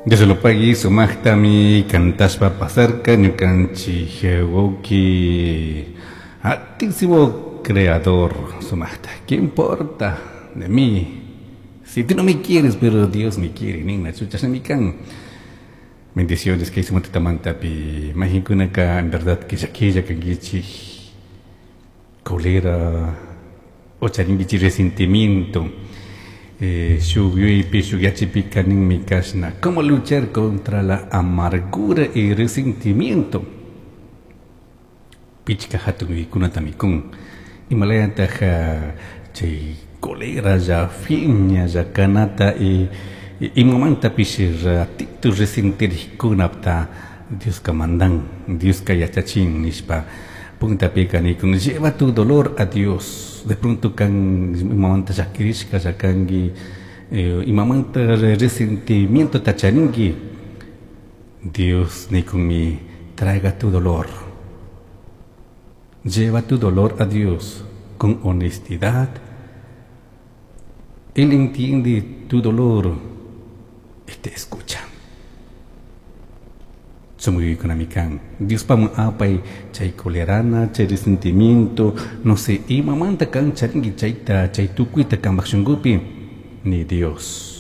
Dios lo pague, sumaqtami cantashpa pasarka ñukanchik wawki altísimo creador sumaqta. ¿Qué importa de mí? Si tú no me quieres, pero Dios me quiere, nina chashnami kan. Bendiciones kay sumatitamantapi mayqinkunaka en verdad que llaquilla kankichik cólera o charinkichik resentimiento. Shuk yuyaypi shuk yachaypika ninmi kashna: ¿Cómo luchar contra la amargura y resentimiento? Pichka hatun yuyaykunatami kun. Imalayataq chay coleralla, phiñalla kanata y imamantapish ratito resentirikkunapta Dioska mandan, Dioska yachachin nishpa. Puntapika nikun: lleva tu dolor a Dios. De pronto kan imamanta llakirishka kanki, imamanta resentimiento charinki, Dios nikunmi: traiga tu dolor. Lleva tu dolor a Dios con honestidad. Él entiende tu dolor y te escucha. Sumuykunami kan. Diospaman apay chay colerana, chay resentimiento, no sé, imamanta kan charinki chayta, chay tukuyta kambaj shunkupi, ni Dios.